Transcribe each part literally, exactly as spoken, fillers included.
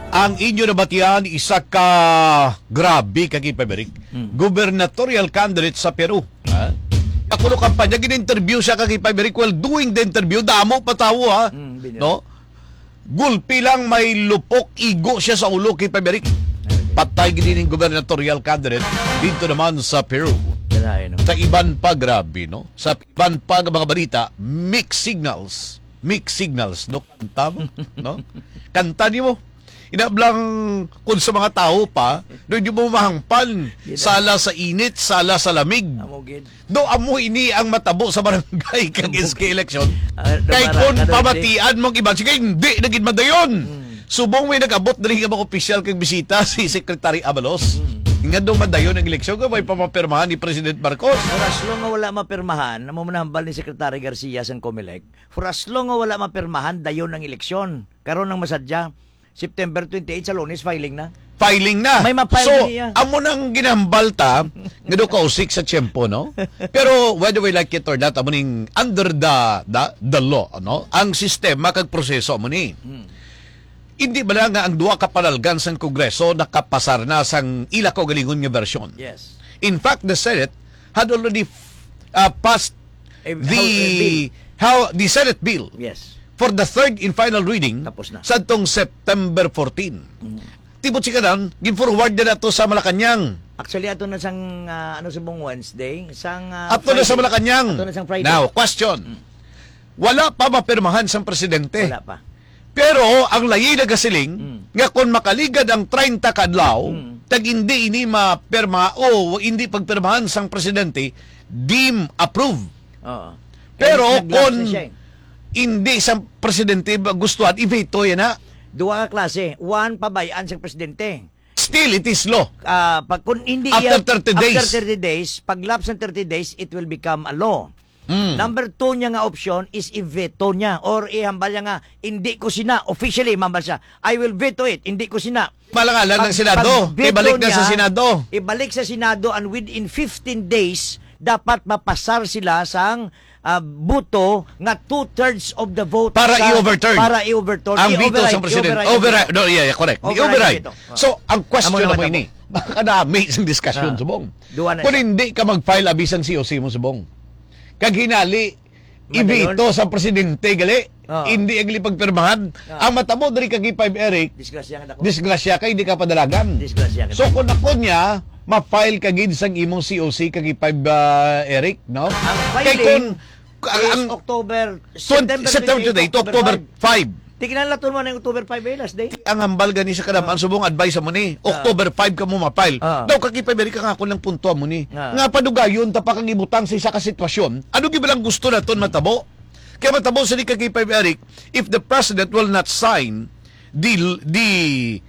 Ang inyo nabatian, isa ka grabe ka, K five Eric. Hmm. Gubernatorial candidate sa Peru. Ha? Ako no kampanya, gin-interview siya ka, K five Eric. While doing the interview, damo pa tawo, ha? Hmm, binya. No? Gulpi lang may lupok, igo siya sa ulo, K five Eric. Patay gid ning gubernatorial candidate dito naman sa Peru. Kalain, no? Sa iban pa, grabe, no? Sa iban pa nga mga balita, mixed signals. Mixed signals, no? Kanta mo, no? Kanta nimo. Inablang kung sa mga tao pa, doon yung mo mahangpan. Gina- Sala sa init, sala sa lamig. Amo gid. Do amo ini ang matabo sa barangay kag Amo S K gid. Election. Ah, Kay Damara, kung kanang pamatian mong iban, sige, hindi na gid madayon. Hmm. Subong may nag-abot diri nga mga opisyal kag bisita si Secretary Abalos. Hmm. Nga daw madayon ang eleksyon, kay may pamapirmahan ni President Marcos. Pero as long nga wala mapirmahan, amo man ang hambal ni Secretary Garcia sang Comelec. For as long nga wala mapirmahan, dayon ang eleksyon. Karon ang masadya, September twenty-eight sa Lunes, filing na. Filing na. May ma-file So, niya. Amo nang ginahambal ta, nga do kausik sa tiyempo, no? Pero whether we like it or not, amo ning under the, the, the law, no? Ang sistema kag proseso amo ni. Hmm. Hindi ba lang nga ang duha ka panalgan sang Kongreso nakapasar na sang ila kaugalingon nga bersyon? Yes. In fact, the Senate had already uh, passed A, the how, a bill. How the Senate bill Yes. for the third and final reading Tapos na. Sadtong September fourteen. Mm. Tibot si kanan, gin-forward na nato sa Malacañang. Actually, ato na sang, ah, ano, subong Wednesday, sang, ah, Ato na sa Friday. Malacañang. Ato na sang Friday. Now, question. Mm. Wala pa mapirmahan sang presidente. Wala pa. Pero ang layi nagasiling Mm. nga kung makaligad ang treinta ka adlaw, Mm. tag hindi ini mapirma o hindi pagpirmahan sang presidente, deem approve. Oo. Pero Kaya nag-lapse kung na siya eh. hindi sa presidente ba gustuhan, i-veto yan, ha? Duha ka klase. One, pabayaan sa presidente. Still, it is law. Ah, pag, kung hindi After iya, thirty days. After thirty days, pag lapse ng thirty days, it will become a law. Mm. Number two niya nga option is i-veto niya or ihambal niya nga, "Hindi ko sina," officially, mambal siya, "I will veto it, hindi ko sina." Malangalan Pag, ng Senado. pag veto Ibalik na sa niya, Senado. ibalik sa Senado, and within fifteen days, dapat mapasar sila sang, ah, buto nga two-thirds of the vote Para sa, i-overturn. para i-overturn. Ang veto I-override, sa presidente. i-override ang Override. veto. No, yeah, yeah, correct. Override ang I-override. veto. Oh. So, ang question Amo na na mo mahitabo. ini. Makadami sa diskusyon, Ah. subong. Duwa na Kung siya. hindi ka mag-file, abisang C O C mo, subong. Kag hinali, Madayon. Ibito sa presidente, gali. Oo. Hindi ang pagpirmahan. Oo. Ang matabo diri kag K five Eric, Disgrasya nga dako. disgrasya kay hindi ka padalagan. Disgrasya ka. So, kung ako niya, ma-file ka gid sang imong C O C kag K five, ah, Eric, no? Ang Kay filing kung, ang, is ang October, twenty, September September twenty-eight, twenty-eight, October October five. five. Tignan lang, tuon man ang October five, eh, last day. Ang hambal gani sa kadam-an, Ah. subong advice mo ni, Ah. October five ka mo ma-file. Ah. Daw, kag K five Eric, ang ako lang punto mo ni. Ah. Nga padugayon ta pa kag ibutang sa isa ka sitwasyon. Ano gid ba lang gusto naton matabo? Kaya matabo sa ni ka K five Eric, if the president will not sign the, the,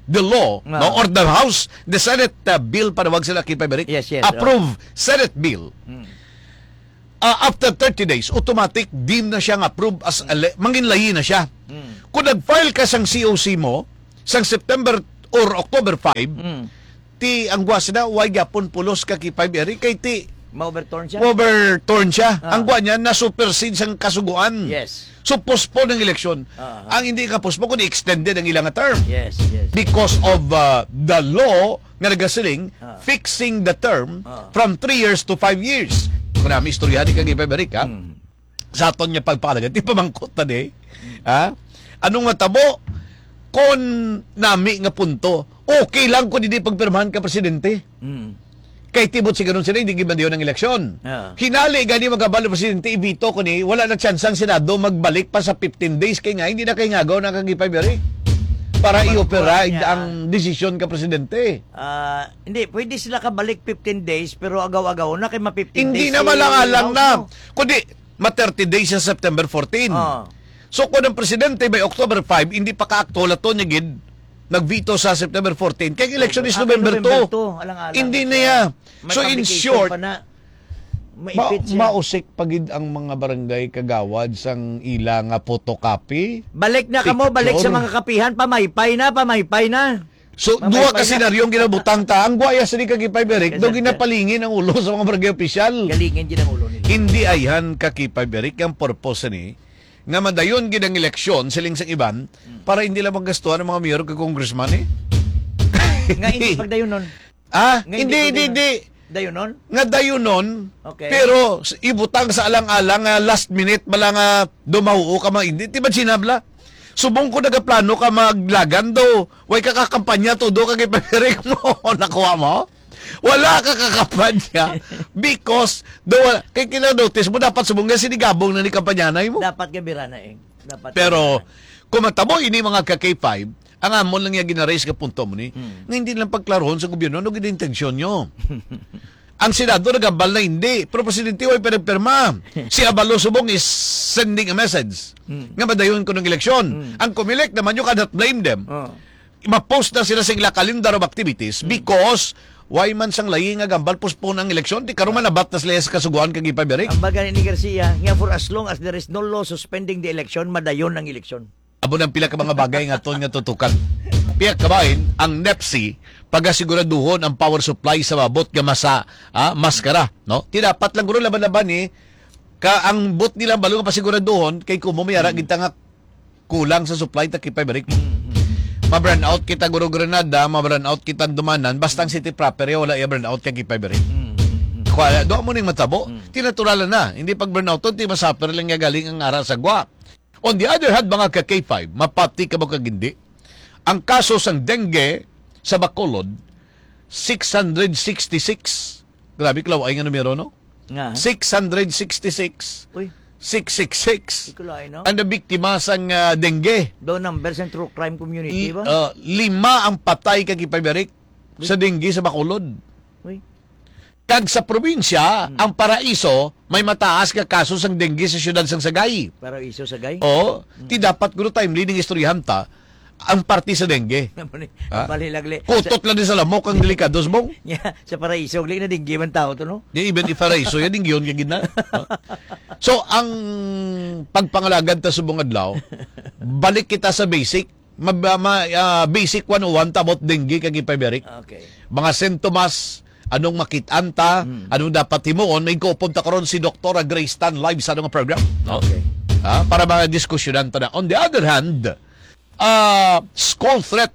the law, Ah. no, or the House, the Senate, uh, bill, panawag sila K five Eric, Yes, yes, approve Senate bill. Hmm. Ah, after thirty days, automatic, deem na siya nga approve as a le-, mangin layi na siya. Hmm. Kung nag-file ka sang C O C mo, sang September or October five, Hmm. ti ang guwas na, way gyapon pulos ka K five Eric, kay ti Ma-overturn siya? overturn siya. Ah. Ang guwa niya, na-supersede sang kasuguan. Yes. So, postpone ang eleksyon. Ah, ah. Ang hindi ka postpone, kundi extended ang ilang term. Yes, yes. Because of, uh, the law nga nagasiling, Ah. fixing the term Ah. from three years to five years. Kung nami istoryahan ni kag K five Eric, ha? Hmm. Sa aton nga pagpahalaga, ti pamangkot ta di. Ha? Anong matabo? Kon nami nga punto, okay lang kung hindi pagpirmahan ka presidente. Mm. Kay tibot si ganun sila, hindi gid madayon ang eleksyon. Ah. Hinali gani magabalo presidente, ibito ko ni, wala na tsansa ang Senado magbalik pa sa fifteen days, kay nga hindi na kay ngagaw na kag K five Eric para Mag-, i-override yeah. ang desisyon ka presidente. Ah, hindi, pwede sila kabalik fifteen days, pero agaw-agaw na kay ma fifteen Hindi days na si malangalang na. House, no? Kundi, ma thirty days sa September fourteen. Ah. So, kung ang presidente by October five, hindi pa ka-akto, lato niya gid, nag-veto sa September fourteen. Kay ang election is Ah, November November two. two, alang-alang Hindi na na siya. Niya. May So, in pa-vacation short, pa na. Ma-, Maipit siya. mausik pa gid ang mga barangay kagawad sang ila nga photocopy. Balik na kamo, balik sa Picture. mga kapihan, pamaypay na, pamaypay na. So, Mamay duha ka pa na. senaryong ginabutang ta. Ang guwaya sa ni ka K five Eric, Yes, daw sir. ginapalingin ang ulo sa mga barangay opisyal. Galingin gid ang ulo nila. Hindi ayhan ka K five Eric, ang purpose ni nga madayon gid ang eleksyon, siling sang iban, para hindi lang magastuhan ang mga mayor kag congressman, eh. Nga hindi pagdayonon. Ah, Nga hindi hindi, hindi, pagdayonon. hindi. Dayonon? Nga dayonon, Okay. pero s- ibutang sa alang-alang nga last minute, bala nga dumahuo ka, mga hindi. Di ba, Ginabla? Subong ko nagaplano ka maglagan daw, way ka kakampanya, todo ka gipapirik mo. Nakuha mo? Wala ka kakampanya. Because, daw, kay kila notice mo, dapat subong nga sinigabong na ni kampanyanay mo. Dapat ka birana, eh. Dapat Pero, ka birana. kung matabo ini, mga ka K five, ang amon lang yung ginaraise nga punto mo ni, Hmm. nga hindi lang pagklarohon sa gobyerno, ano gid intensyon nyo? Ang Senado nagambal na hindi, pero presidente way pinagpirma. Si Abalos subong is sending a message Hmm. nga madayon ko ng eleksyon. Hmm. Ang Comelec naman, you cannot blame them. Oh. Ma-post na sila sa ila calendar of activities Hmm. because why man sang layi nga gambal postpone ang eleksyon, di karon man nabat na sila sa kasuguan kag ipabirik. Ang baga ni Garcia, nga for as long as there is no law suspending the election, madayon ang eleksyon. Amo nang pila ka mga bagay nga aton nga tutukan. Pia kabahin ang NEPC pagasiguraduhon ang power supply sa mabot nga masa, ah, maskara, no? Ti dapat lang guro laban-laban ni ka ang bot nila balo nga pasiguraduhon kay kumo may ara Mm. gid ta nga kulang sa supply ta kay pabirik. Mm, mm. Ma-brownout kita guro Granada, ma-brownout kita dumanan, basta ang city proper ya wala ya brownout kay pabirik. Mm, mm, mm. Kuha do mo ning matabo. Mm. Ti natural na. Hindi pag brownout ti masuffer lang ya galing ang ara sa gwa. On the other hand, mga ka K five, mapati ka mo kag hindi, ang kaso sang dengue sa Bacolod, six hundred sixty-six. Grabe, kalaway nga numero, no? Nga. Six hundred sixty-six. Uy. Six six six. Di ko lain, no? Ang nabiktima sang, ah, dengue. Do numbers ng true crime community I, ba? ah, lima ang patay kag ipabirik sa dengue sa Bacolod. Uy. Kag sa probinsya, Hmm. ang Paraiso, may mataas nga kaso sang dengue sa siyudad sang Sagay. Paraiso, Sagay? Oo. Hmm. Ti dapat guro timely ning istoryahan ta, ang parte sa dengue. Bali, Ha? bali lagli. Kutot lang din sa lamok ang delikado, subong. Nya, sa Paraiso, gali na dengue man tao to, no? Di even if Paraiso, yan, dengue yun, kagina. Ha? So, ang pagpangalagad ta subong adlaw, balik kita sa basic, Mab-, ma-, ah, basic one oh one ta about dengue kag ipabirik. Okay. Mga sintomas, anong makit-an ta, Hmm. anong dapat himuon, may kaupod ta karon si Doktora Grace Tan live sa anong program, no? Okay. Ah, para mga diskusyonan ta na. On the other hand, ah, skull threat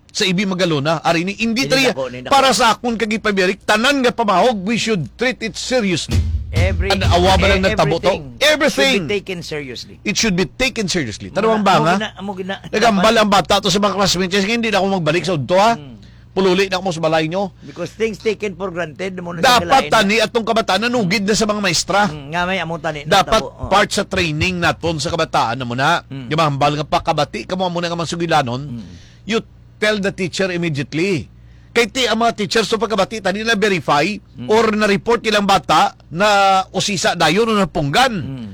sa Ibi Magalona, ari ni, hindi Hindi tayo, nako, hindi nako. para sa akon kag ipabirik, tanan nga pamahog, we should treat it seriously. Every, And awa ba lang e-, nagtabo to? everything Everything. should be taken seriously. It should be taken seriously. Amo Tanawang na, ba amo nga? gina-, amo gina-, Nagambal ang bata to sa mga classmates niya, "Sige, hindi na ako magbalik sa udto, ha? Hmm. Pululi na ako sa balay nyo." Because things taken for granted, mo na Dapat sila tani atong kabataan nanugid na sa mga maestra. Hmm, nga may amo tani Dapat natabo, oh. part sa training naton sa kabataan na muna. Hmm. Di ba, hambal nga pakabati, kamo amo na nga mga sugilanon. Hmm. You tell the teacher immediately. Kay ti ang mga teachers sa pagkabati, tani na verify Mm. or na-report ilang bata na usisa dayon o napunggan. Mm.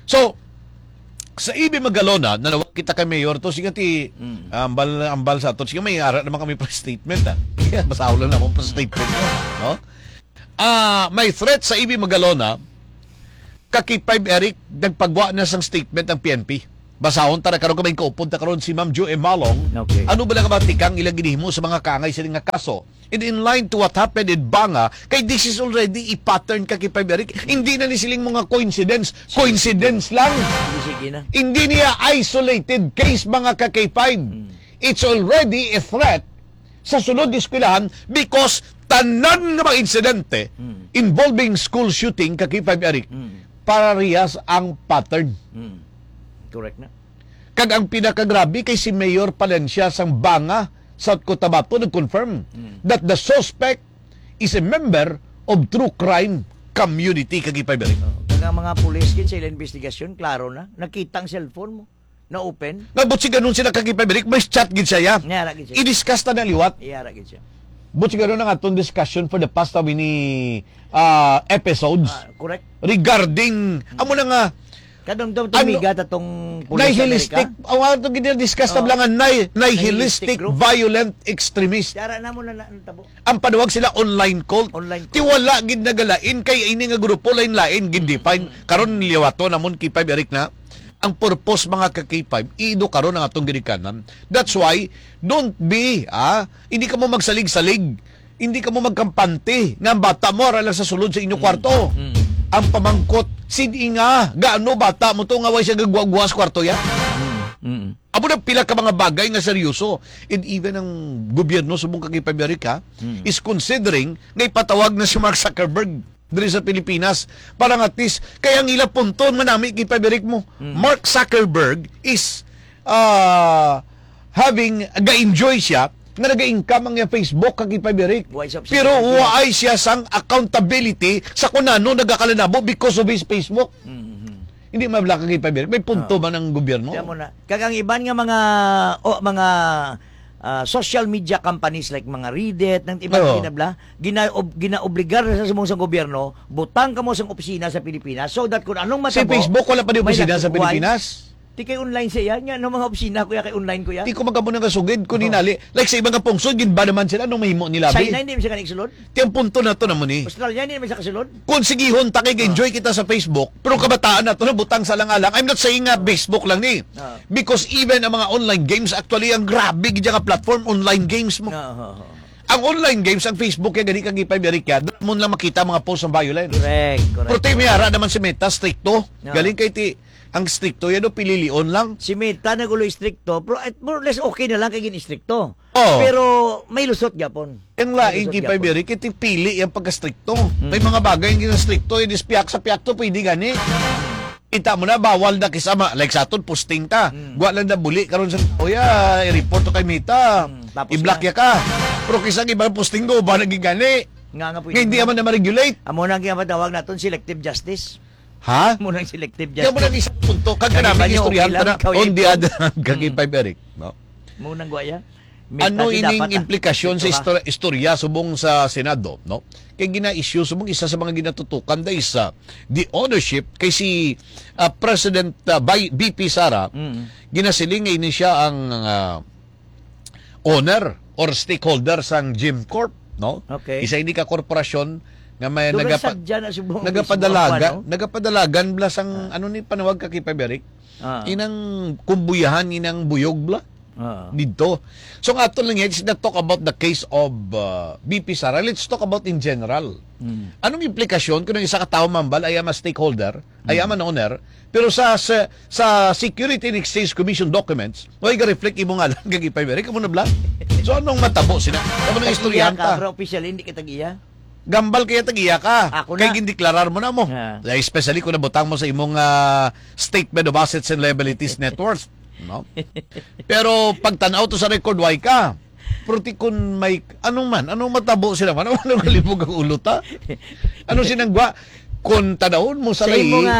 So, sa Ibi Magalona, nanawag kita kay Mayor to, sige ti, Mm. ambal, ambal sa aton. Sige, may ara naman kami press statement, ah. Basahon lang naman press statement, no? Ah, may threat sa Ibi Magalona, ka K five Eric, nagpagwa na sang statement ang P N P. Basahon ta na karon, kay may kaupod ta karon si Ma'am Joy Malong. Okay. Ano ba lang ba tikang ilang ginhimo sa mga kaangay sini nga kaso? And in line to what happened in Banga, kay this is already a pattern ka K five Eric. Hindi na ni siling mga coincidence. Coincidence lang. Hindi, sige na. Hindi niya isolated case, mga ka K five. Hmm. It's already a threat sa sunod eskwelahan because tanan nga mga insidente Hmm. involving school shooting ka K five Eric Hmm. pararehas ang pattern. Hmm. Correct na. Kag ang pinakagrabe kay si Mayor Palencia sang Banga, South Cotabato, nag-confirm Hmm. that the suspect is a member of true crime community ka K five Eric. Oh, kag ang mga pulis gid sa ilang investigasyon, klaro na. Nakita ang cellphone mo. Na-open? Nga buot siganon sila ka K five Eric, may chat gid siya, ya. Nga, ra gid siya. I-discuss ta na liwat. Iya, ra gid siya. Buot siganon ang atong discussion for the past how many, ah, episodes Ah, correct. regarding, amo na nga, Kadong daw Ano? tumiga ta tong pulis sa nihilistic, Amerika. ang atong gina-discuss na Oh. lang nga ni-, nihilistic Nihilistic group. violent extremist. Dara na mo na, na, natabo. Ang panuwag sila online cult. Online Ti cult. wala gid nagalain kay ini nga grupo lain-lain gid define. Mm. Karon liwaton namon K five Eric na. Ang purpose, mga ka K five, i-edukaron ang atong ginikanan. That's why, don't be, ah, hindi ka mo magsalig-salig, hindi ka mo magkampante nga ang bata mo ara lang sa sulod sa inyo Mm. kwarto. Mm. Ang pamangkot, sin-i nga, gaano bata mo to nga way siya gagwa-gwa sa kwarto ya? Mm. Amo na pila ka mga bagay nga seryoso. And even ang gobyerno subong kag Amerika Mm. is considering nga ipatawag na si Mark Zuckerberg diri sa Pilipinas para nga at least kay ang ila punton manami kay pabirik mo. Mm. Mark Zuckerberg is uh, having ga-enjoy siya nga naga-income ang iyang Facebook kag ipabirik. Wa siya Pero obsession. Waay siya sang accountability sa kung ano nagakalanabo because of his Facebook. Mhm. Hindi mabla kag ipabirik. May punto Oo. man ang gobyerno. Kaya mo na. Kag ang iban nga mga o, mga ah, social media companies like mga Reddit, nang iban Oo. Kinabla, ginaob, ginaobligar sa sumong sa gobyerno, butang kamo sang opisina sa Pilipinas so that kung anong Si matabo, Facebook wala pa di may opisina laki- sa Pilipinas. Di kay online siya, yan. Nga, ano mga opisina ko ya, kay online ko ya. Di ko magkamo nga sugid, kung Oo. hinali. Like sa ibang kapungsod, gid ba naman sila, anong mahimo nila, China, bi? Hindi man siya kanig sulod. Ti ang punto na to naman eh. Australia, hindi man siya kasulod. Kung sigihon ta kay enjoy kita sa Facebook, pero kabataan na to na butang sa alang-alang. I'm not saying nga Facebook lang ni. Ah. Because even ang mga online games, actually, ang grabe gid nga platform, online games mo. Ah, ah, ah. Ang online games, ang Facebook, kaya gani kag ipamirik yan, mo lang makita mga post ng violence. Correct, correct. Pero tayo may ara naman si Meta, stricto. Ah. Galing kay ti, ang stricto yan, no, pililion lang. Si Meta nagulo stricto, pero at more or less okay na lang kay gin-stricto. Oo. Pero may lusot gyapon. Ang May lain lusot kay gyapon. Pabiri, kay ti pili yung pagka-stricto. Mm. May mga bagay yung ginastricto, yung dispiyak sa piyakto, pwede gani. Kita mo na, bawal na kisa ma-, like sa aton, posting ta. Mm. Gwa lang na buli, karon sa, "Oya, i-report to kay Meta. Mm, tapos I-block na. Ya ka." Pero kisa ang ibang posting ko, ba naging gani? Nga, nga pwede Nga hindi na. Naman na ma-regulate. Amo na ang ginatawag naton, selective justice. Ha? Mo nang selective Kaya mo justice. Nang isang punto, kag Kani kanami ba niyo istoryahan okay ta lang? Na, Ikaw, on the Ito? Other hand, kag Mm. Five Eric, no? Mo nang guwaya? May Ano tadi ining dapat, ah. Implikasyon sa Ito, ha? Istorya, istorya subong sa Senado, no? Kay gina-issue subong isa sa mga ginatutukan dahil sa the ownership kay si, ah, President, ah, Bay-, B P Sara, Mm. ginasiling nga ini siya ang, ah, owner or stakeholder sang Gym Corp, no? Okay. Isa ini ka korporasyon nga may Dugang nagapa-, sadya na subong nagapadalaga-, mismo, ano? Nagapadalagan bala sang, Ah. ano ni panawag ka kay Paberic? Ah. Inang kumbuyahan, inang buyog bala? Ah. Didto. So, nga ato lang yan, let's not talk about the case of, uh, B P Sara. Let's talk about in general. Mm. Anong implikasyon kung ang isa ka tawo mambal ay ama stakeholder, ay Mm. ama owner, pero sa, sa, sa Security and Exchange Commission documents, way ga-reflect imo ngalan kag ipay-, amo na bala? So, anong matabo sila? Amo nang Tag-iya istoryahan ka, ta. Pero officially, hindi ka tag-iya. Gambal kaya tag-iya ka. Ako Kay na. Gindeklarar mo na mo. Ah. Especially kung nabutang mo sa imong, ah, statement of assets and liabilities net worth. No? Pero pagtan-aw to sa record, way ka. Pero ti kun may, anong man, anong matabo sila man? Anong, anong kalibog ang ulo ta? Ano sinang gwa? Kung tanawon mo sa Sa imo lai-, nga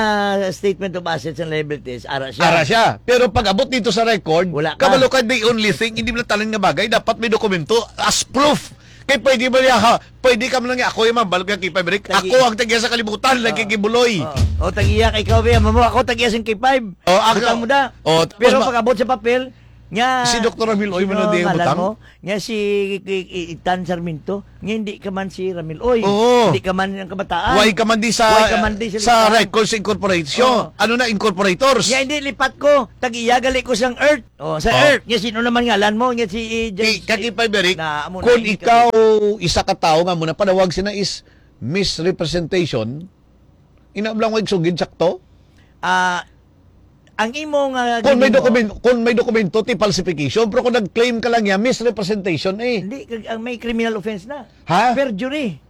statement of assets and liabilities, ara siya. Ara siya. Pero pag abot dito sa record, Wala ka. Kabalo ka, the only thing, hindi mo tanan nga bagay, dapat may dokumento as proof. Kay pwede ba niya, ha? Pwede ka man lang niya, ako yung mabal ka kay Pabrik. Tagi- Ako ang tagya sa kalibutan, Oo. Nagkikibuloy. Oo. O, tag-iya kay ikaw, biya, mamo, ako tagya sing K five. O, ako. Butang mo da. O, Pero tapos ma- pag abot sa papel, nga, Si Doktor Ramil Oy, sino man ang di ngalan butang? Mo? Nga si, i-, i-, Itan Sarmiento, nga hindi ka man si Ramil Oy. Oo. Hindi ka man ang kabataan. Why ka man di sa, Why ka man di sa sa listahan? Records Incorporation? Oo. Ano na, incorporators? Nga hindi lipat ko, tag-iya gali ko sang Earth. Oh, sa Oh. Earth, nga sino naman ngalan mo? Nga si, eh, Ti, James, kag eh, ipay, Beric, na, amo na, kung hindi ka ikaw isa ka tawo nga mo na panawag sina is misrepresentation, ina lang way sugid sakto? Ah, ang imo nga Kung may ginhimo document-, kung may dokumento, ti falsification, pero kung nag-claim ka lang niya, misrepresentation eh. Hindi, kag-, ang may criminal offense na. Ha? Perjury.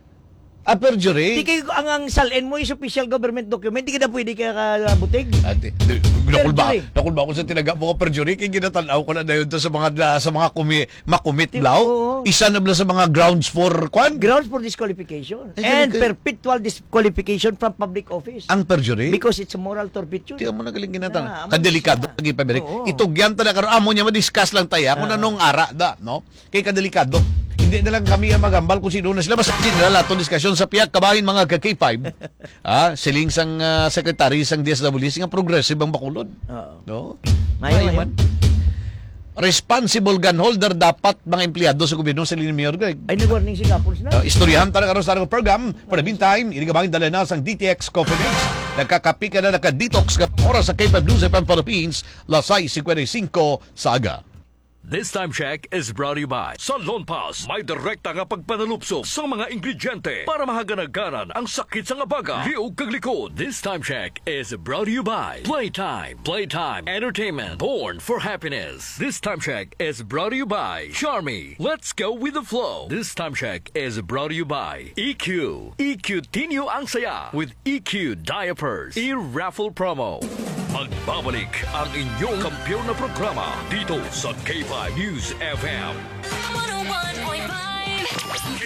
Ah, perjury? Di kay ang, ang salin mo is official government document, di ka na pwede ka, ka butig. Ah, di, di, nakulba, Perjury. Nakulba ko sa tinaga mo ka perjury, kay ginatanaw ko na dayon to sa mga, sa mga kumi-, makumit Di, blaw. Oo. Isa na bala sa mga grounds for, kwan? Grounds for disqualification. Ay, And ganun ka- perpetual disqualification from public office. Ang perjury? Because it's a moral turpitude. Di mo nagaling ginatanaw. Ah, amo Kadelikado siya. Lagi pa, Beric. Oo. Itugyan ta na karon, amo niya, ma-discuss lang tayo, kung Ah. Anong ara da, no? Kay kadelikado. Hindi na lang kami ang magambal kung sino na sila. Basta general atong diskusyon sa pihak kabahin, mga ka K five. Ah, siling sang, ah, secretary sang D S W C nga progressive ang Bacolod. Oo. No? Mayo, Mayo mayo. Man. Responsible gun holder dapat mga empleyado sa gobyerno sa Lini Mayor Greg. Ay, nag-warning si Couples na. Ah, istoryahan ta na karon sa atong program. For the meantime, ini kabahin dala na sang D T X Coffee Mix. Nagkakapi ka na, naka-detox ka oras sa K five News F M Philippines, las sais cincuenta y cinco sa aga. This time check is brought to you by Salon Pass. May direkta nga pagpanalupso sa mga ingrediente para mahaganaganan ang sakit sa nga baga, liog kag likod. This time check is brought to you by Playtime. Playtime Entertainment, born for happiness. This time check is brought to you by Charmy. Let's go with the flow. This time check is brought to you by E Q. E Q Tinyo ang saya with E Q Diapers. E-raffle promo. Magbabalik ang inyong kampiyon na programa dito sa K five News F M. One oh one point five.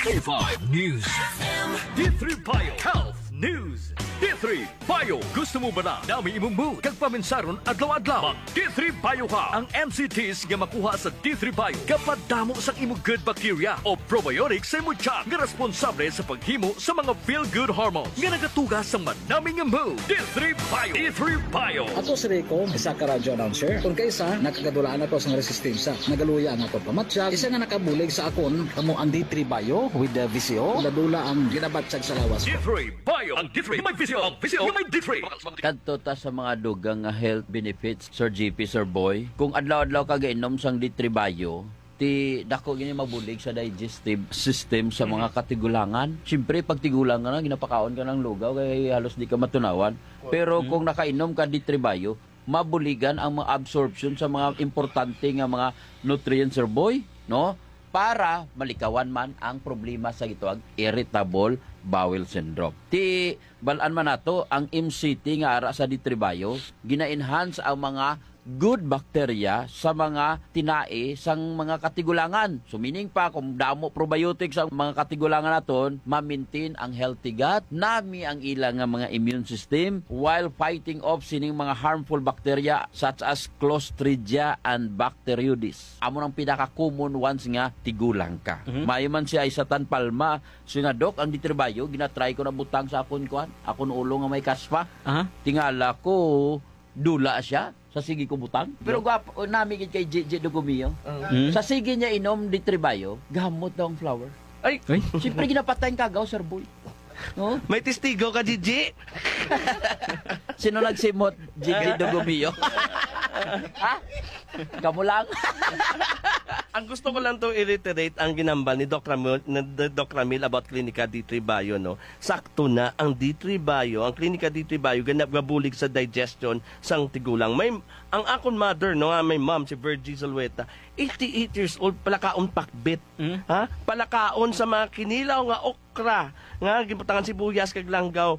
K five News F M. D three Bio Health News. D three Bio. Gusto mo ba na dami imong mood kag paminsaron adlaw-adlaw? Mag D three Bio ka. Ang M C Ts nga makuha sa D three Bio gapadamo sang imo good bacteria o probiotics sa imo tiyan nga responsable sa paghimo sa mga feel-good hormones nga nagatuga sang manami nga mood. D three Bio. D three Bio. Ako si Rico, isa ka radyo announcer. Kung kaisa, nakagadulaan ako sang resistensya. Nagaluya ang akon pamatyag. Isa nga nakabulig sa akon, kamo ang D three Bio with the V C O. Dula-dula ang ginabatyag sa lawas ko. D three Bio. Ang D three may V C O. Ang V C O may D three. Kadto ta sa mga dugang nga health benefits, Sir G P, Sir Boy. Kung adlaw-adlaw ka gainom sang D three Bio, ti dako gini mabulig sa digestive system sa mga katigulangan. Siyempre, pag tigulang ka na, ginapakaon ka ng lugaw, kay halos di ka matunawan. Pero kung nakainom ka D three Bio, mabuligan ang mga absorption sa mga importante nga mga nutrients, Sir Boy, no? Para malikawan man ang problema sa gitawag irritable bowel syndrome. Ti bal-an man nato ang M C T nga ara sa D three Bio, gina-enhance ang mga good bacteria sa mga tinai sang mga katigulangan. So, meaning pa, kung damo probiotics ang mga katigulangan naton, ma-maintain ang healthy gut, nami ang ila nga mga immune system while fighting off sining mga harmful bacteria such as Clostridia and Bacteroides. Amo nang pinaka-common ones nga tigulang ka. Mhm. Maayo man siya isatan palma. So nga, Doc, ang D three Bio, ginatry ko na butang sa akon, kuan, akon ulo nga may kaspa. Aha. Tingala ko, dula siya. Sa sige ko butang. Pero gwapo, nami gid kay Gigi Dugumio. Mm. Sa sige niya inom D three Bio, gamot daw ang flower. Ay! Ay. Siyempre, ginapatay ang kagaw, Sir Boy. No? May testigo ka, Gigi? Sino nagsimot? Gigi Dugumio. Ha? Kamo lang. Ang gusto ko lang to i-reiterate ang ginambal ni Doc Ramil, ni Doc Ramil about Klinika D three Bio, no? Sakto na ang D three Bio, ang Klinika D three Bio, ganap nga bulig sa digestion sang tigulang. May, ang akon mother, no, nga may mom, si Virgie Zulueta, eighty-eight years old, palakaon pakbit. Mm. Ha? Palakaon sa mga kinilaw nga okra, nga ginbutangan sibuyas kag langgaw.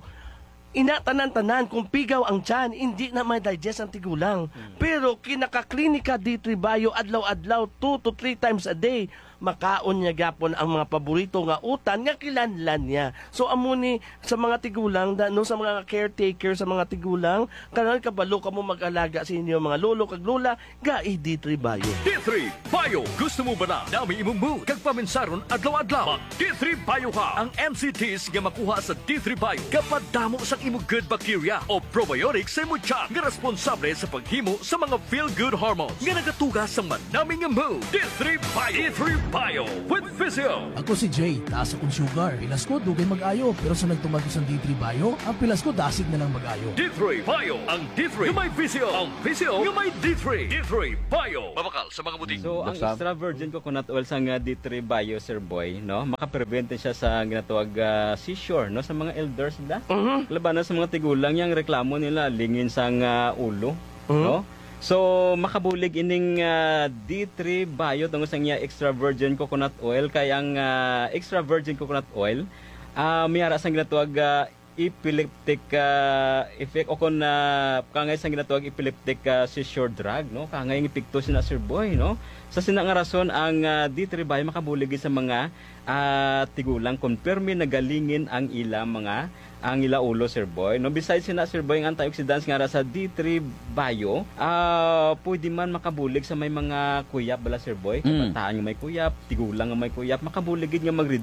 Ina, tanan-tanan, kung pigaw ang tiyan, hindi na may digest ang tigulang. Mm. Pero kinakaklinika D three Bio, adlaw-adlaw, two to three times a day, makaon niya gyapon ang mga paborito nga utan nga kinahanglan niya. So, amo ni sa mga tigulang, da-, no, sa mga caretaker sa mga tigulang, kanang kabalo kamo mag-alaga sa inyo mga lolo kag lola, gai D three Bio. D three Bio. Gusto mo ba na dami imong mood kag paminsaron adlaw-adlaw? Mag D three Bio ka. Ang M C Ts nga makuha sa D three Bio gapadamo sang imo good bacteria o probiotics sa imo tiyan nga responsable sa paghimo sa mga feel-good hormones nga nagatuga sa manami nga mood. D three Bio. D three Bio with Physio. Ako si Jay, taas akong sugar. Pilas ko, dugay mag-ayo. Pero sa nagtumag ko sa D three Bio, ang pilas ko dasig na lang mag-ayo. D three Bio. Ang D three nga may Physio. Ang Physio nga may D three. D three Bio. Mabakal sa mga buting. So, ang Doktor? Extra virgin coconut oil sang D three Bio, Sir Boy, no? Makaprevent siya sa ginatawag, ah, seizure, no? Sa mga elders da. Mhm. Labanan sa mga tigulang, yang reklamo nila, lingin sang, ah, ulo, Mhm. no? So, makabulig ining, ah, D three Bio tungod sa iya extra virgin coconut oil. Kay ang, ah, extra virgin coconut oil, ah, may ara sang ginatawag, ah, epileptic, ah, effect o kon, ah, kangay sang ginatawag epileptic, ah, seizure drug, no? Kangay ang epekto sina, Sir Boy, no? Sa sina nga rason, ang, ah, D three Bio makabulig sa mga, ah, tigulang kon permi nagalingin ang ila mga, ang ila ulo, Sir Boy, no? Besides sina, Sir Boy, ang antioxidants nga ara sa D three Bio, ah, pwede man makabulig sa may mga kuyap bala, Sir Boy. Mm. Kabataan nga may kuyap, tigulang nga may kuyap, makabulig gid nga mag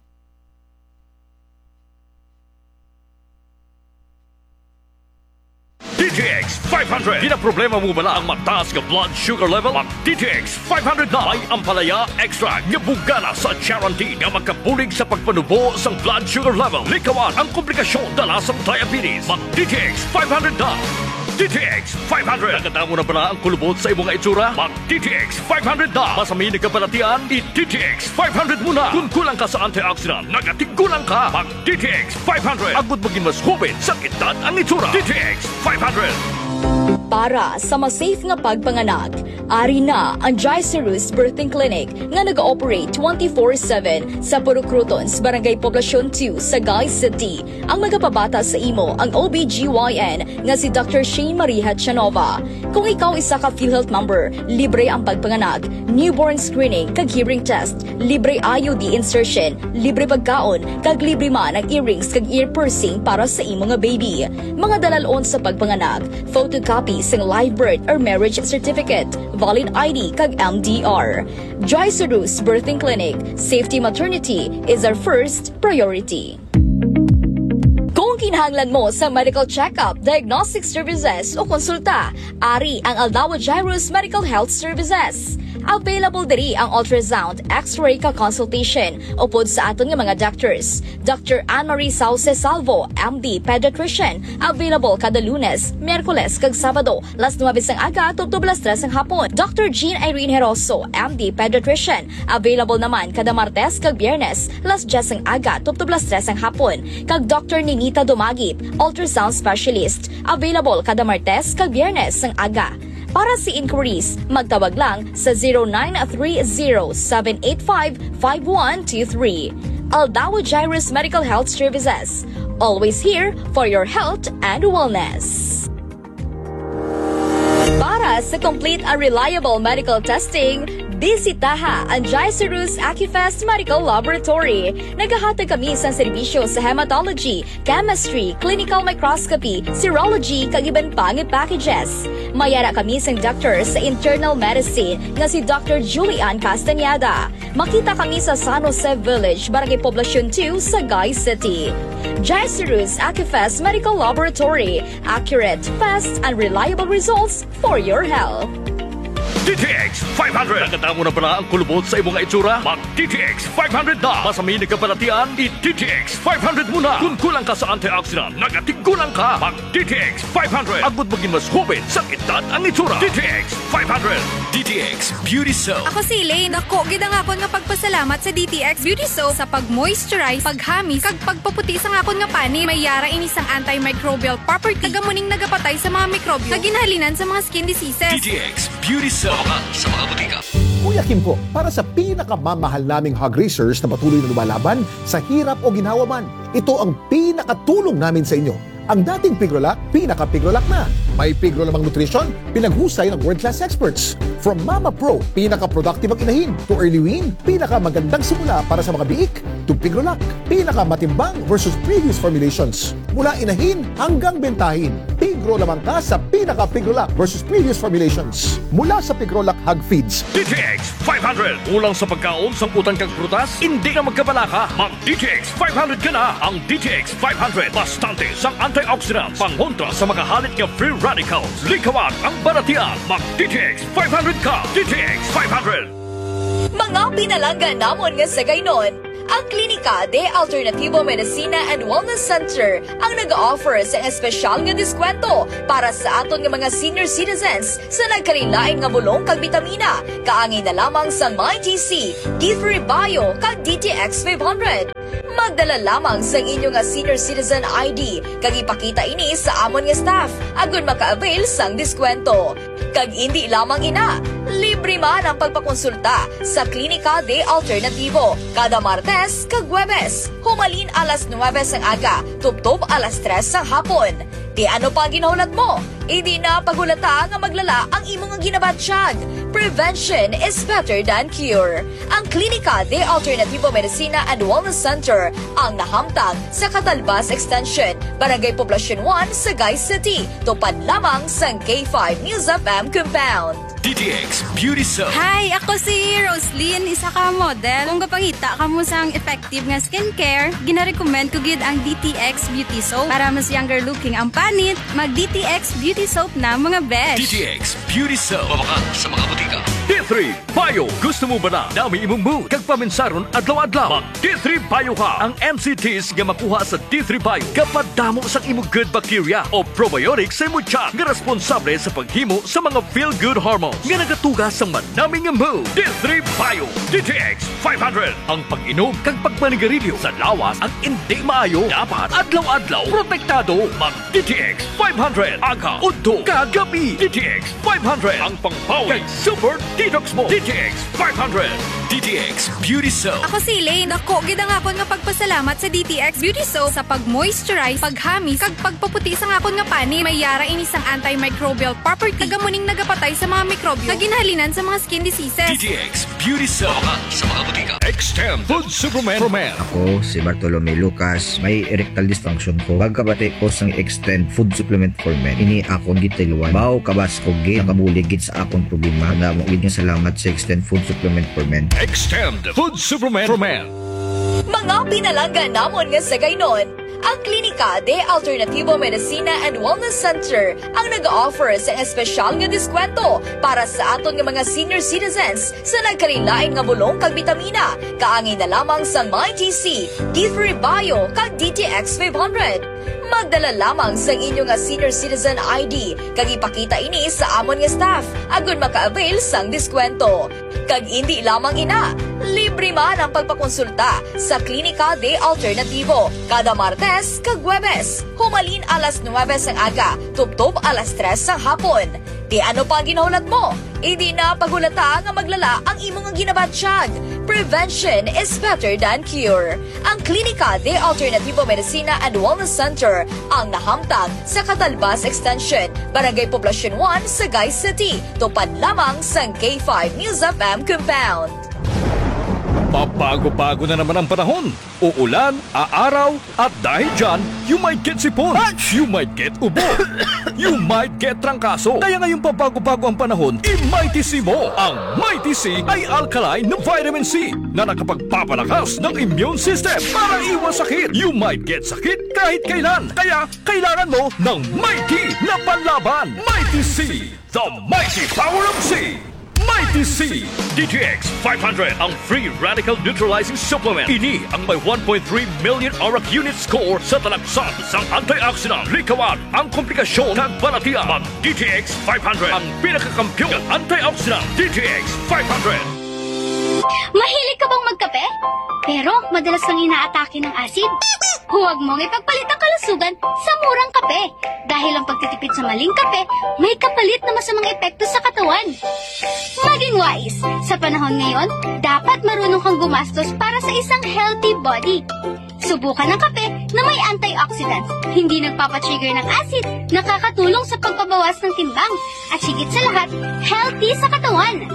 D T X five hundred. Ginaproblema mo bala ang mataas nga blood sugar level? Mag D T X five hundred na. May ampalaya extract nga bugana sa charantin nga makabulig sa pagpanubo sang blood sugar level. Likawan ang komplikasyon dala sang diabetes. Mag D T X five hundred na. D T X five hundred. Nakadamo na bala ang kulubot sa imo nga itsura? Mag D T X five hundred na. Masami nagkabalatian, i D T X five hundred mo na. Kung kulang ka sa antioxidant, nagatigulang ka. Mag D T X five hundred. Agud maging mas hoben sa edad ang itsura. D T X five hundred. Para sa mas safe nga pagpanganak, ari na ang Jaiserus Birthing Clinic nga nag-ooperate twenty-four seven sa Purok Crotons, Barangay Poblacion two, Sagay City. Ang magapabata sa imo ang O B G Y N nga si Doctor Shane Marie Hachanova. Kung ikaw isa ka PhilHealth member, libre ang pagpanganak, newborn screening kag hearing test, libre I U D insertion, libre pagkaon, kag libre man ang earrings kag ear piercing para sa imo nga baby. Mga dalal-on sa pagpanganak, photocopy sang live birth or marriage certificate, valid I D kag M D R. Joy Seduce Birthing Clinic, safety maternity is our first priority. Kung kinahanglan mo sa medical checkup, diagnostic services o konsulta, ari ang Aldao Jairus Medical Health Services. Available diri ang ultrasound, X-ray ka consultation upod sa aton nga mga doctors, Doctor Anne Marie Sauce Salvo, M D, pediatrician, available kada Lunes, Miyerkules, kag Sabado, las nuebe sang aga tubtob las tres sang hapon. Doctor Jean Irene Heroso, M D, pediatrician, available naman kada Martes kag Biyernes, las diyes sang aga tubtob las tres sang hapon. Kag Doctor Ninita Dumagip, ultrasound specialist, available kada Martes kag Biyernes sang aga. Para sa inquiries, magtawag lang sa zero nine three zero seven eight five five one two three. Aldao Jairus Medical Health Services, always here for your health and wellness. Para sa complete and reliable medical testing, bisitaha ang Jaiserus Acufest Medical Laboratory. Nagahatag kami sang serbisyo sa hematology, chemistry, clinical microscopy, serology, kag iban pa nga packages. May ara kami sang doctor sa internal medicine nga si Doctor Julian Castañeda. Makita kami sa San Jose Village, Barangay Poblacion two, Sagay City. Jaiserus Acufest Medical Laboratory, accurate, fast, and reliable results for your health. D T X five hundred. Nakadamo na bala ang kulubot sa imo nga itsura? Mag D T X five hundred na. Masami nagkabalatian, i D T X five hundred mo na. Kung kulang ka sa antioxidant, nagatigulang ka. Mag D T X five hundred. Agud maging mas hoben sa edad ang itsura. D T X five hundred. D T X Beauty Soap. Ako si Elaine. Dako gid ang akon nga pagpasalamat sa D T X Beauty Soap sa pag-moisturize, paghamis, kag pagpaputi sang akon nga panit. May ara ini sang antimicrobial property. Kag amo ning nagapatay sa mga mikrobyo nga ginhalinan sa mga skin diseases. D T X Beauty Soap. Sa mga botika. Kuya Kim po, para sa pinakamamahal naming hog raisers na patuloy na lumalaban sa hirap o ginhawa man, ito ang pinakatulong namin sa inyo. Ang dating Pigrolac, pinaka-Pigrolac na. May Pigrolamang Nutrition, pinaghusay ng world-class experts. From Mama Pro, pinaka-productive ang inahin, to Early Wean, pinakamagandang simula para sa mga biik, to Pigrolac, pinakamatimbang versus previous formulations. Mula inahin hanggang bentahin, Pigrolamang ka sa pinaka-Pigrolac versus previous formulations. Mula sa Pigrolac Hog Feeds. D T X five hundred. Kulang sa pagkaon, sangkutan kag prutas, hindi na magkabalaka. Mag D T X five hundred ka na. Ang D T X five hundred, bastante sang antioxidants, pangontra sa mga halit nga free radicals. Likawan ang balatian. Mag D T X five hundred ka. D T X five hundred. Mga pinalangga namon nga sagaynon, ang Klinika de Alternativo Medicina and Wellness Center ang nag-offer sa espesyal nga diskwento para sa aton nga mga senior citizens sa nagkalain-lain nga bulong kag bitamina, kaangay na lamang sang My G C, D three Bio, kag D T X five hundred. Magdala lamang sang inyo nga senior citizen I D kag ipakita ini sa amon nga staff agud maka-avail sang diskwento. Kag indi lamang ina, libre man ang pagpakonsulta sa Klinika de Alternativo kada Martes kag Huwebes, humalin alas nuebe sang aga tubtob alas tres sang hapon. Ti ano pa ang ginahulat mo? Indi na paghulata nga maglala ang imo nga ginabatyag. Prevention is better than cure. Ang Klinika de Alternativo Medicina and Wellness Center ang nahamtang sa Catalbas Extension, Barangay Poblacion one, Sagay City, tupad lamang sang K five News F M compound. D T X Beauty Soap. Hi, ako si Roslyn, isa ka model. Kung gapangita kamo sang effective nga skincare, ginarecommend ko gid ang D T X Beauty Soap para mas younger looking ang panit. Mag D T X Beauty Soap na, mga besh. D T X Beauty Soap. Mabakal sa mga butika. D three Bio. Gusto mo ba na dami imong mood kag paminsaron adlaw-adlaw? Mag D three Bio ka. Ang M C Ts nga makuha sa D three Bio gapadamo sang imo good bacteria o probiotics sa imo tiyan nga responsable sa paghimo sa mga feel-good hormones nga nagatuga sa manami nga mood. D three Bio, D T X five hundred. Ang pag-inom kag pagmanigarilyo sa lawas ang indi maayo. Dapat adlaw-adlaw protektado. Mag D T X five hundred, aga, udto, kag gabi. D T X five hundred, ang pangpawi kag super detox mo. D T X five hundred, D T X Beauty Soap. Ako si Elaine. Dako gid ang akon nga pagpasalamat sa D T X Beauty Soap sa pag-moisturize, paghamis, kag pagpaputi sang akon nga panit. May yara ini sang antimicrobial property, kag amo ning nagapatay sa mga mikrobyo nga ginhalinan sa mga skin diseases. D T X Beauty Soap. Mabakal sa mga butika. Extend Food Supplement for Men. Ako si Bartolome Lucas. May erectile dysfunction ko. Pagkabati ko sang Extend Food Supplement for Men, ini akon gitiluan. Baw kabaskog gid, nakabulig gid sa akon problema. Damo gid nga salamat sa Extend Food Supplement for Men. Extend Food Supplement for Men. Mga pinalangga namon nga sagaynon, ang Klinika de Alternativo Medicina and Wellness Center ang nag-offer sa espesyal nga diskwento para sa aton nga mga senior citizens sa nagkalain-lain nga bulong kag bitamina, kaangay na lamang sang Mighty C, D three Bio, kag D T X five hundred. Magdala lamang sang inyo nga senior citizen I D kag ipakita ini sa amon nga staff agud maka-avail sang diskwento. Kag indi lamang ina, libre man ang pagpakonsulta sa Klinika de Alternativo kada Martes kag Huwebes, humalin alas nuwebe sang aga tubtob alas tres sang hapon. Ti ano pa ang ginahulat mo? Indi na paghulata nga maglala ang imo nga ginabatyag. Prevention is better than cure. Ang Klinika de Alternativo Medicina and Wellness Center ang nahamtang sa Catalbas Extension, Barangay Poblacion one, Sagay City, tupad lamang sang K five News F M compound. Pabago-bago na naman ang panahon. Uulan, aaraw, at dahil dyan, you might get sipon, you might get ubo, you might get trangkaso. Kaya ngayong pabago-bago ang panahon, i-Mighty C mo. Ang Mighty C ay alkaline na vitamin C na nakapagpapalakas ng immune system para iwas sakit. You might get sakit kahit kailan. Kaya kailangan mo ng Mighty na panlaban. Mighty C, the mighty power of C. Mighty C. D T X five hundred, ang free radical neutralizing supplement. Ini ang may one point three million ORAC unit score sa talagsan sang antioxidant. Likawan ang komplikasyon kag balatian. Mag D T X five hundred, ang pinakakampiyon nga antioxidant. D T X five hundred. Mahilig ka bang magkape? Pero madalas kang inaatake ng asid? Huwag mong ipagpalit ang kalusugan sa murang kape, dahil ang pagtitipid sa maling kape may kapalit na masamang epekto sa katawan. Maging wais. Sa panahon ngayon, dapat marunong kang gumastos para sa isang healthy body. Subukan ang kape na may antioxidants, hindi nagpapatrigger ng acid, nakakatulong sa pagpabawas ng timbang, at higit sa lahat, healthy sa katawan.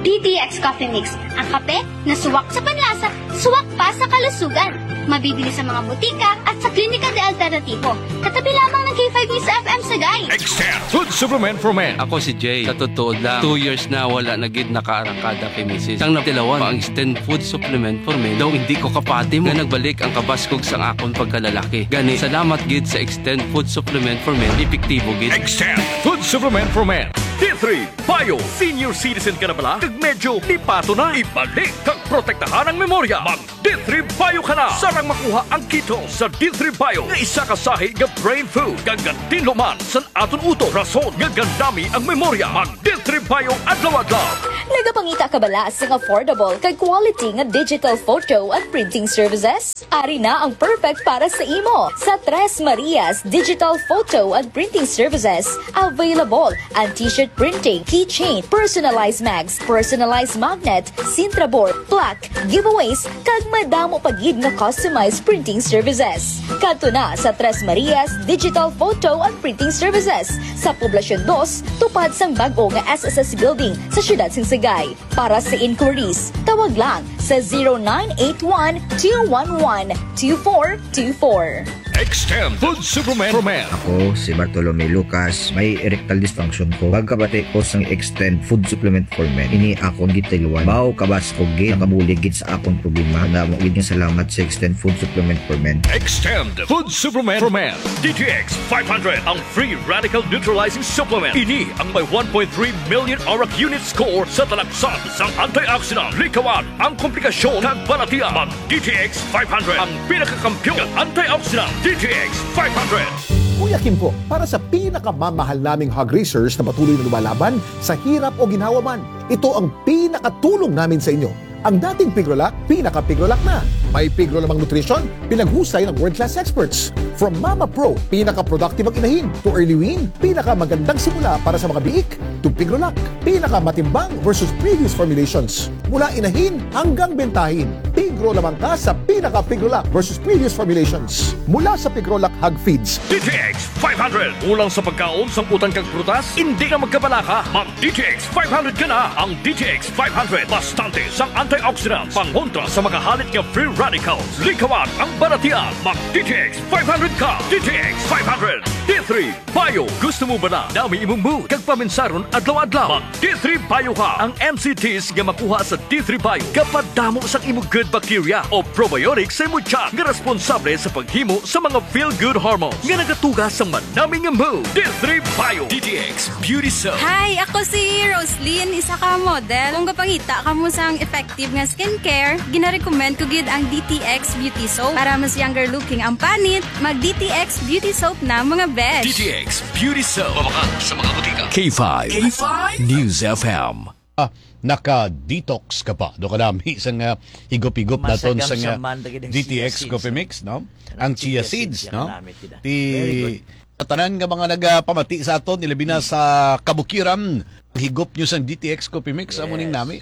D T X Coffee Mix, ang kape na suwak sa panlasa, suwak pa sa kalusugan. Mabibili sa mga butika at sa Klinika de Alternativo. Katabi lamang ng K five News F M Sagay. Extend Food Supplement for Men. Ako si Jay. Sa totoo lang, two years na wala na gid nakaarangkada kay misis. Sang natilawan pa ang Extend Food Supplement for Men, daw hindi ko kapati mo nga nagbalik ang kabaskog sang akon pagkalalaki. Gani, salamat gid sa Extend Food Supplement for Men. Epektibo gid. Extend Food Supplement for Men. D three Bio. Senior citizen ka na bala? Kag medyo lipato na? Ibalik kag protektahan ang memorya. Mag D three Bio ka na. Sarang makuha ang ketone sa D three Bio nga isa ka sahi nga brain food kag gatinlo man sa aton utok, rason nga gandami ang memorya. Mag D three Bio adlaw-adlaw. Nagapangita ka bala sang affordable kag quality nga digital photo and printing services? Ari na ang perfect para sa imo. Sa Tres Marias Digital Photo and Printing Services, available ang t-shirt printing, keychain, personalized mags, personalized magnet, Sintra board, plaque, giveaways, kag madamo pa gid nga customized printing services. Kadto na sa Tres Marias Digital Photo and Printing Services sa Poblacion dos, tupad sang bag-o nga S S S Building sa siyudad sang Sagay. Para sa inquiries, tawag lang sa zero nine eight one, two one one, two four two four. Extend Food Supplement for Men. Ako si Bartolome Lucas, may erectile dysfunction ko. Pagkabati ko sang Extend Food Supplement for Men, ini akon gitiluan. Baw kabaskog gid, nakabulig gid sa akon problema. Damo gid nga salamat sa Extend Food Supplement for Men. Extend Food Supplement for Men. D T X five hundred, ang free radical neutralizing supplement. Ini ang may one point three million arak unit score sa talaksan sang antioxidant. Likawan ang komplikasyon kag balatian. Mag D T X five hundred, ang pinakakampiyon nga antioxidant. D T X five hundred. Kuya Kimpo, para sa pinakamamahal naming hog raisers na patuloy na lumalaban sa hirap o ginhawa man, ito ang pinakatulong namin sa inyo. Ang dating Pigrolac, pinaka-Pigrolac na. May Pigro lamang nutrition, pinaghusay ng world-class experts. From Mama Pro, pinaka-productive ang inahin, to Early Wean, pinakamagandang simula para sa mga biik, to Pigrolac, pinakamatimbang versus previous formulations. Mula inahin hanggang bentahin, Pigro lamang ka sa pinaka-Pigrolac versus previous formulations. Mula sa Pigrolac Hog Feeds. D T X five hundred. Kulang sa pagkaon, sang utan kag prutas? Hindi na magkabalaka. Mag D T X five hundred ka na. Ang D T X five hundred, bastante sang antioxidants, pangontra sa mga halit nga free radicals. Likawan ang balatian. Mag D T X five hundred ka. D T X five hundred. D three Bio. Gusto mo ba na dami imong mood kag paminsaron adlaw-adlaw? Mag D three Bio ka. Ang M C Ts nga makuha sa D three Bio gapadamo sang imo good bacteria o probiotics sa imo tiyan nga responsable sa paghimo sa mga feel-good hormones nga nagatuga sang manami nga mood. D three Bio. D T X Beauty Soap. Hi, ako si Roslyn, isa ka model. Kung gapangita kamo sang effective nga skincare, ginarecommend ko gid ang D T X Beauty Soap. Para mas younger looking ang panit, mag D T X Beauty Soap na, mga besh. D T X Beauty Soap. Mabakal sa mga butika. K five. K five. News F M. Ah, naka-detox ka pa. Do ka nami sa nga higop-higop naton sa nga Masagamsaman ta gid ang D T X chia seeds, Coffee no? Mix, no? Ang Ang chia chia seeds, seeds, no? Yan ang namit gid, ah. Ti Very good. Tanan nga mga nagapamati sa aton, ilabi na sa kabukiran, higop nyo sang D T X Coffee Mix, amo ning Yes. nami.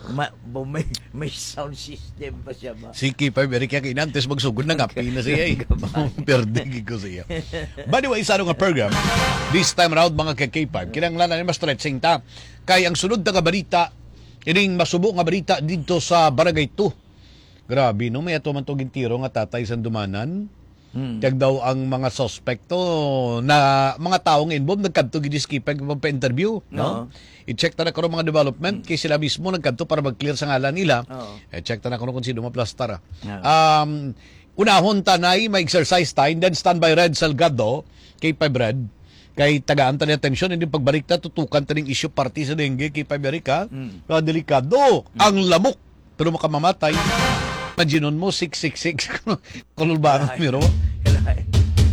Ma-, bo-, may, may sound system pa siya ba? Si K five Eric, kaya kinantes magsugod na nga, pina siya eh. Ang gabay. Perde gid ko siya. By the way, sa ano nga program, this time around, mga ka K five, kinahanglan na mas stretching ta. Kay ang sunod na nga balita, ining masubo nga balita dito sa Barangay two. Grabe, no? May ato man to gintiro nga tatay sandumanan. Hmm. Kag daw ang mga suspect to na mga tawo nga involved nagkadto gid si K five magpa-interview, no? Oo. I-check ta na karon mga development, Hmm. kay sila mismo nagkadto para mag-clear sa ngalan nila. Oo. I-check ta na karon kung sino maplastar, ah. Oo. Um, unahon ta nay, may exercise time, then standby Red Salgado, K five Red. Kay tagaan ta ni atensyon, hindi pagbalik ta, tutukan ta ning issue parte sa dengue, K five Eric, ha? Hmm. Kaya delikado, Hmm. ang lamok. Pero makamamatay. Imaginon mo, six six six. Kululbangan Ay. Miro. Kalay.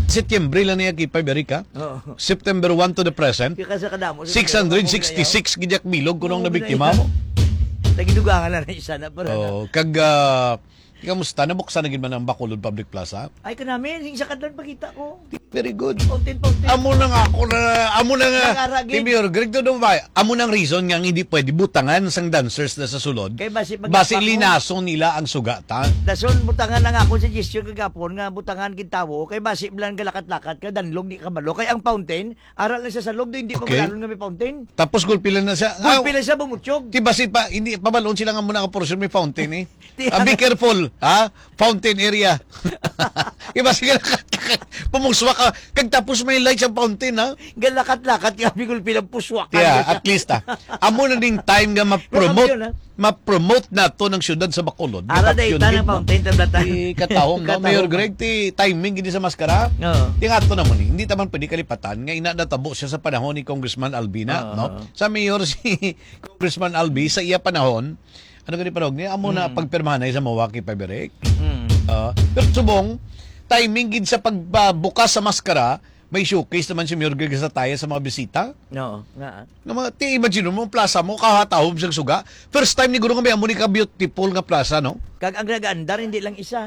Setyembre lang niya kay Paberica. Oo. September one to the present. Kaya sa kadamo, sa six hundred sixty-six gidyak bilog kuno ang Oo, nabiktima ginaita. mo. Nagidugangan na na isa na, pero Oo, na. kag, ah, kamusta? Nabuksan na gid man ang Bacolod Public Plaza? Ay, kanami, yung sa kadlan pakita ko. Very good. Fountain, fountain. Amo na nga ako na, amo na nga, Nag-ara gid. Team Yorgrig, to do ba? Amo nang reason nga hindi pwede butangan sang dancers na sa sulod. Kay basi Basi magkapako. linason nila ang suga, ta? Dason, butangan lang ako sa gesture kagapon nga butangan gid tawo. Kay basi lang galakat-lakat ka, danlog di kabalo. Kay ang fountain, aral na siya sa loob, hindi Okay. mabalon nga may fountain. Tapos gulpi lang na siya. Gulpi Ah, lang siya, bumutyog. Di basi pa, hindi, pabalon sila nga muna nga portion may fountain eh. Di Ah, be ang careful, ha? Fountain area. Iba sige na, pamuswak ka. Kag tapos may lights ang fountain, ha? Galakat-lakat ka, bigol pinapuswak ka. Yeah, at least, ha? Amo na ding time nga ma-promote, Kampiyon, ha? ma-promote nato ng syudad sa Bacolod. Ara Nga day, kampiyon tanang din, no? fountain, tablatan. Di katahom, no? Katahom. Mayor Greg, ti timing gini sa maskara. Oo. Di nga to naman, eh. Hindi taman pwede kalipatan nga ina natabo siya sa panahon ni Congressman Albina, Oo. no? Sa mayor si Congressman Albi, sa iya panahon, ano gani panahon niya? Amo na Mm. pagpirmahanay sa Milwaukee, Pabirek. Mm. Ah, pero subong, timing gid sa pagbukas sa maskara, may showcase naman si Mayor Greg sa taya sa mga bisita. Oo, nga. Nga mga, ti, imagine mo, plaza mo, kahatahom siyang suga. First time ni Guro nga may amo ni ka-beautiful nga plaza, no? Kag ang nag-aandar, hindi lang isa.